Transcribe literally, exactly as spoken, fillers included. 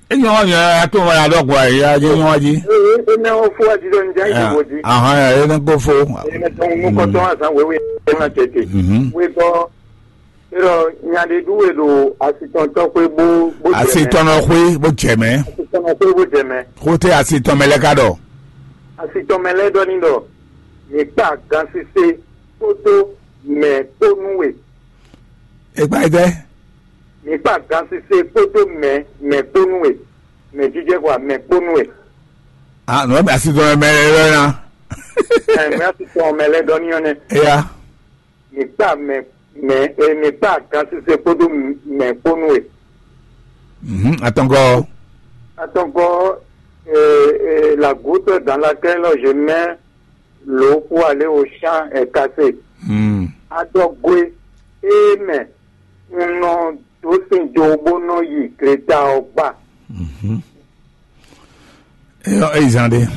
Enyo nya to ma ɖɔ gwa ya je nyo aji. Ee, ene wo fo aji ɖo nja yi wo di. Aha, ya ene ko fo. Ene tɔn nu kɔtɔn azan wewe ena tete. Mhm. We bɔ erɔ nya ɖe ɖu we ɖo asitɔntɔ xwe bó bó jɛ mɛ. Asitɔnɔ xwe bó jɛ mɛ. Asitɔnɔ xwe bó jɛ mɛ. Xote asitɔmɛ lɛ ka ɖɔ. Asitɔmɛ lɛ ɖɔ ni ɖɔ mi kpa gansise kpódó mɛ kpó nú we. Ekpa yi tɛ. Mi kpa gansise kpódó mɛ mɛ kpó nú we. Mɛ jijɛ kɔ mɛ kpó nú we. Ah, nɔ bɛ asi tɔn mɛ lɛ na. Ɛ mɛ asi tɔn mɛ lɛ ɖɔ ni ɔnɛ. Eya. Mi kpa mɛ mɛ e mi kpa gansise kpódó mɛ kpó nú we. Mhm, atɔngɔ. Atɔngɔ, euh, euh, la goutte dans laquelle je mets l'eau pour aller au champ est cassée. Hmm. Adɔgwe e mɛ un nɔ dó sin jo bó nɔ yi gleta ɔ́ gba. Mhm. Eyɔ eyi zan ɖe.